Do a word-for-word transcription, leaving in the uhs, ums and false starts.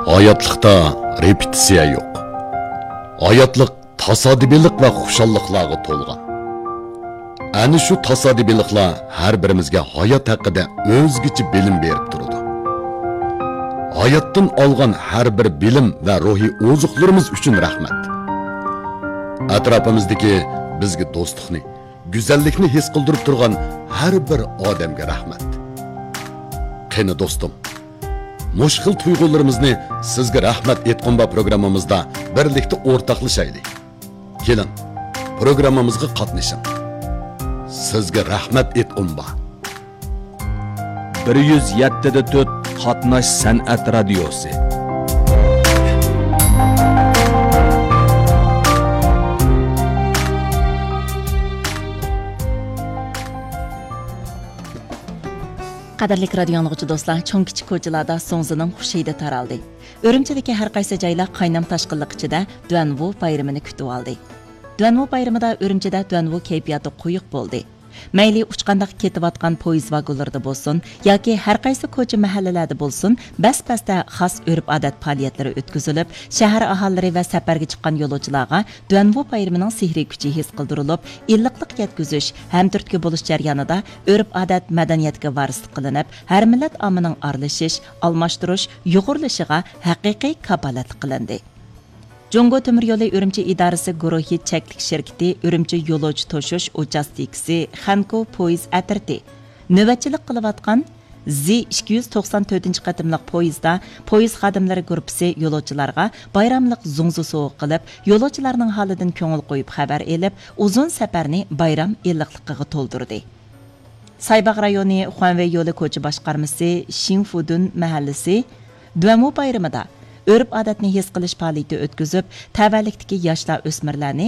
ھاياتلىقتا رېپېتىتسىيە يوق. ھاياتلىق تاسادىپىيلىق ۋە خۇشاللىقلارغا تولغان. ئەنە شۇ تاسادىپىيلىقلار ھەر بىرىمىزگە ھايات ھەققىدە ئۆزگىچە بىلىم بېرىپ تۇرىدۇ. ھاياتتىن ئالغان ھەر بىر بىلىم ۋە روھىي ئوزۇقلىرىمىز ئۈچۈن رەھمەت. ئەتراپىمىزدىكى بىزگە دوستلۇقنى، گۈزەللىكنى ھېس قىلدۇرۇپ تۇرغان ھەر بىر ئادەمگە رەھمەت. قېنى دوستۇم، مۇشۇ خىل تۇيغۇلىرىمىزنى سىزگە رەھمەت ئېيتقۇم بار پروگراممىمىزدا بىرلىكتە ئورتاقلىشايلى. كېلىڭ، پروگراممىمىزغا قاتنىشىڭ. سىزگە رەھمەت ئېيتقۇم بار. بىر يۈز يەتتە دە تۆت قاتناش سەنئەت رادىيوسى. قەدىرلىك رادىيو ئاڭلىغۇچى دوستلار، چوڭ كىچىك كوچىلاردا زوڭزىنىڭ خۇش ھىدى تارالدى. ئۈرۈمچىدىكى ھەر قايسى جايلار قاينام تاشقىنلىق ئىچىدە دۇەنۋۇ بايرىمىنى كۈتۈۋالدى. دۇەنۋۇ بايرىمىدا ئۈرۈمچىدە دۇەنۋۇ كەيپىياتى قويۇق بولدى. مەيلى ئۇچقانداق كېتىۋاتقان پويىز ۋاگونلىرىدا بولسۇن ياكى ھەر قايسى كوچا مەھەللىلەردە بولسۇن، بەس-بەستە خاس ئۆرپ-ئادەت پائالىيەتلىرى ئۆتكۈزۈلۈپ، شەھەر ئاھالىلىرى ۋە سەپەرگە چىققان يولۇچىلارغا دۇەنۋۇ بايرىمىنىڭ سېھرىي كۈچى ھېس قىلدۇرۇلۇپ، ئىللىقلىق يەتكۈزۈش، ھەمتۈرتكە بولۇش جەريانىدا ئۆرپ-ئادەت، مەدەنىيەتكە ۋارىسلىق قىلىنىپ، ھەر مىللەت ئاممىنىڭ ئارىلىشىش، ئالماشتۇرۇش، يۇغۇرۇلۇشىغا ھەقىقىي كاپالەتلىك قىلىندى. جۇڭگو تۆمۈر يولى ئۈرۈمچى ئىدارىسى گۇرۇھى چەكلىك شىركىتى ئۈرۈمچى يولۇچى توشۇش ئۇچاستكىسى خەنكۇ پويىز ئەترىتى نۆۋەتچىلىك قىلىۋاتقان زى ئىككى يۈز توقسان تۆتىنچى قېتىملىق پويىزدا پويىز خادىملىرى گۇرۇپپىسى يولۇچىلارغا بايراملىق زوڭزا سوۋغا قىلىپ، يولۇچىلارنىڭ ھالىدىن كۆڭۈل قويۇپ خەۋەر ئېلىپ، ئۇزۇن سەپەرنى بايرام ئىللىقلىقىغا تولدۇردى. سايباغ رايونى خۇەنۋېي يولى كوچا باشقارمىسى شىڭفۇدۇن مەھەللىسى دۇەنۋۇ بايرىمىدا ئۆرپ-ئادەتنى ھېس قىلىش پائالىيىتى ئۆتكۈزۈپ، تەۋەلىكتىكى ياشلار، ئۆسمۈرلەرنى